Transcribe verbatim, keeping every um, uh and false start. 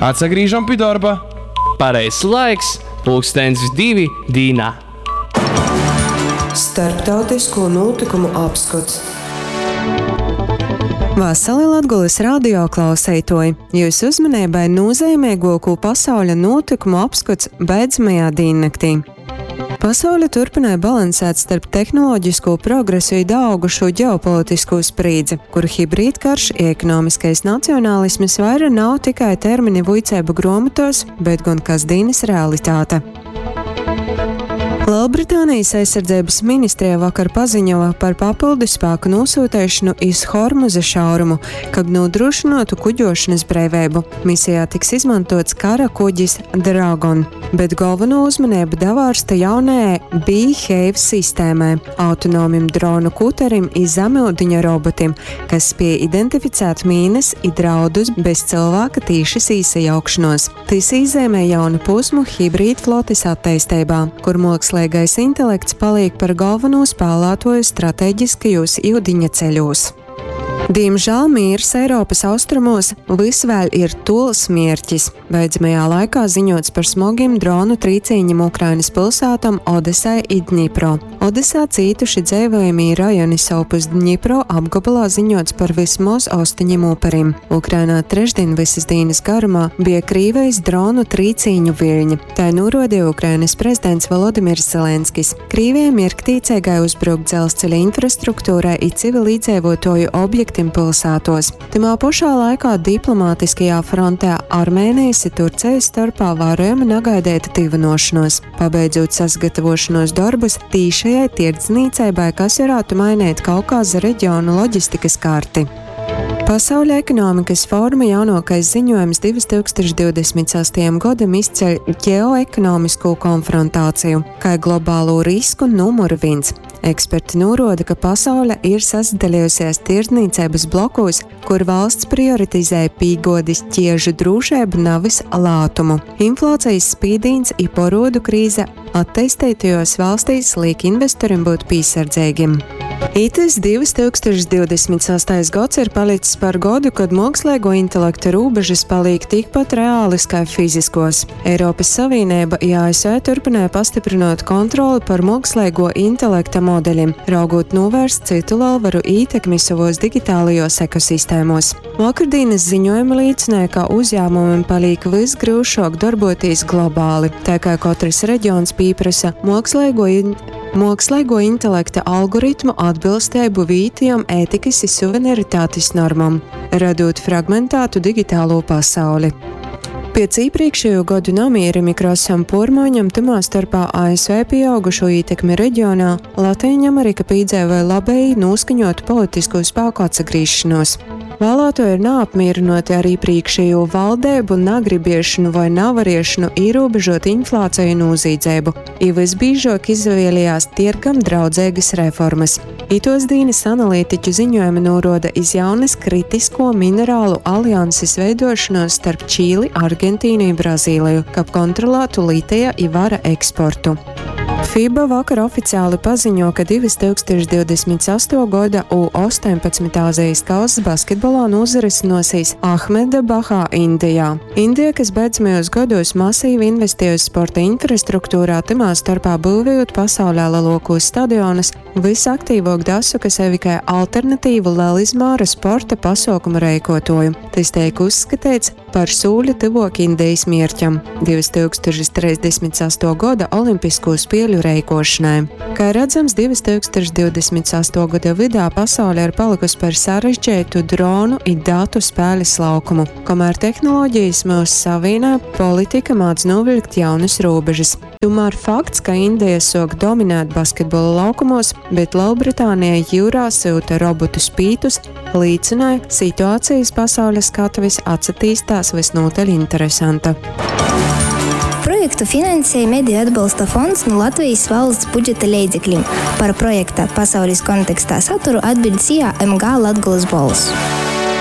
Atsagrīžam pi dorba. Pareizs laiks, pulkstens divi dīnā. Starptautisko nūtykumu apskots. Vasali Latgolys radio klauseituoji! Jūsu uzmaneibai nūzeimeiguokū pasauļa nūtykumu apskots beidzamajā dīnnaktī. Pasaule turpināja balansēt starp tehnoloģisko progresu i daaugušū ģeopolitiskū sprīdzi, kur hibrīdkarš i ekonomiskais nacionalisms vaira nav tikai termini vuiceibu gruomotuos, bet gon kasdīnys realitāte. Lielbritānijas aizsardzeibys ministrija vakar paziņova par papildu spāku nūsūteišonu iz Hormuza šaurumu, kab nūdrūšynuotu kuģošanys breiveibu. Misijā tiks izmontuots kara kuģis Dragon, bet golvonū uzmaneibu davārsta jaunajai Beehive sistēmai, autonomim dronu kuterim i zamiudiņa robotim, kas spiej identificēt mīnys i draudus bez cylvāka tīšys īsajaukšonuos. Tys īzeimej jaunu pūsmu hibrīdflotis atteisteibā, kur muoksleigais intelekts palīk par golvonū spālātuoju strateģiskajūs iudiņa ceļūs. Dīmžāl mīrs Eiropys austrumos vys vēļ ir tuols mierķis. Beidzamajā laikā ziņots par smogim dronu trīcīņim Ukrainys pylsātom Odesai i Dņipro. Odesā cītuši dzeivojamī rajoni, sovpus Dņipro apgobolā ziņots par vysmoz ostoņim uperim. Ukrainā trešdien vysys dīnys garumā bija Krīvejis dronu trīcīņu viļņi. Tai nūruodeja Ukrainys prezidents Volodimirs Zelenskis. Krīvija mierktīceigai uzbruk dzelzceļa infrastruktūrai i civilīdzeivuotuoju objektim pylsātuos. Tymā pošā laikā diplomātiskajā frontē Armēnejis i Turcejis storpā vārojama nagaideita tyvynuošonuos, pabeidzūt sasagatavošonuos dorbus tīšajai tierdznīceibai, kas varātu maineit Kaukaza reģionu loģistikys karti. Pasauļa ekonomikas foruma jaunuokais ziņojums divi tūkstoši divdesmit sastajam godam izceļ ģeoekonomiskū konfrontāciju kai globālū risku numuru vīns. Eksperti nūruoda, ka pasaule ir sasadaliejusies tirdznīceibys blokūs, kur valsts prioritizē pīguodis ķiežu drūšeibu, navis lātumu. Inflācijas spīdīns i porodu krīze atteisteitajos valstīs liek investorim būt pīsardzeigim. Itys divi tūkstoši divdesmit sastais gods ir palics par godu, kad muoksleigo intelekta rūbežys palīk tikpat reālis kai fiziskos. Eiropys Savīneiba i A S V turpināja pastiprinot kontroli par muoksleigo intelekta modeļim, raugot novērst citu lielvaru ītekmi savos digitālajos ekosistēmos. Vakardīnas ziņojumi liecināja, ka uzņēmumiem paliek vis grūšāk darboties globāli, tā kā katrs reģions pieprasa muoksleigo in-, muoksleigo intelekta algoritmu atbilstību vītijam ētikas i suverenitātes normam, radot fragmentētu digitālo pasauli. Pēc iepriekšējo gadu namierim i krasam pormaiņam, tymā starpā A S V pieaugušo ītekmi reģionā, Latīņamerika pīdzēvoja labēji noskaņotu politisko spēku atsagrīšanos. Vēlētoji ir neapmierinoti ar iepriekšējo valdību, nagribiešanu vai navariešanu ierobežot inflāciju un nozīdzību, i visbiežāk izvēlējās tirgam draudzīgas reformas. Itos dīnas analītiķu ziņojumi noroda iz jaunas kritisko minerālu alianses veidošanos starp Čīli, Argentīnu un Brazīliju, kab kontrolētu litija i vara eksportu. FIBA vakar oficiāli paziņo, ka divi tūkstoši divdesmit sesto gada U astoņpadsmit Āzijas kausa basketbolā nozarisināsies Ahmedabahā, Indijā. Indija, kas beidzamajos gados masīvi investējusi sporta infrastruktūrā, tymā starpā būvējot pasaulē lielākos stadionus, visaktīvāk dasoka sevi kā alternatīvu lielizmēra sporta pasaukumu reikotoju. Tas tiek uzskatīts par sūļu tuvāk Indijas mierķam divi tūkstoši trīsdesmit sesto gada Olimpisko spēļu reikošanai. Kā redzams, divi tūkstoši divdesmit sesto gada vidā pasaule ir palikusi par sarežģītu dronu i datu spēles laukumu. Kamēr tehnoloģijas mūs savienē, politika māc novilkt jaunas robežas. Tomēr fakts, ka Indija sok dominēt basketbola laukumos, bet Lielbritānija jūrā sūta robotu spītus, liecināja, situācijas pasaules skatuves atsatīstās visnotaļ interesanta. Projektu finansēja Mediju atbalsta fonds no Latvijas valsts budžeta leidzekļiem. Par projekta pasaules kontekstā saturu atbild S I A M G Latgolas Bols.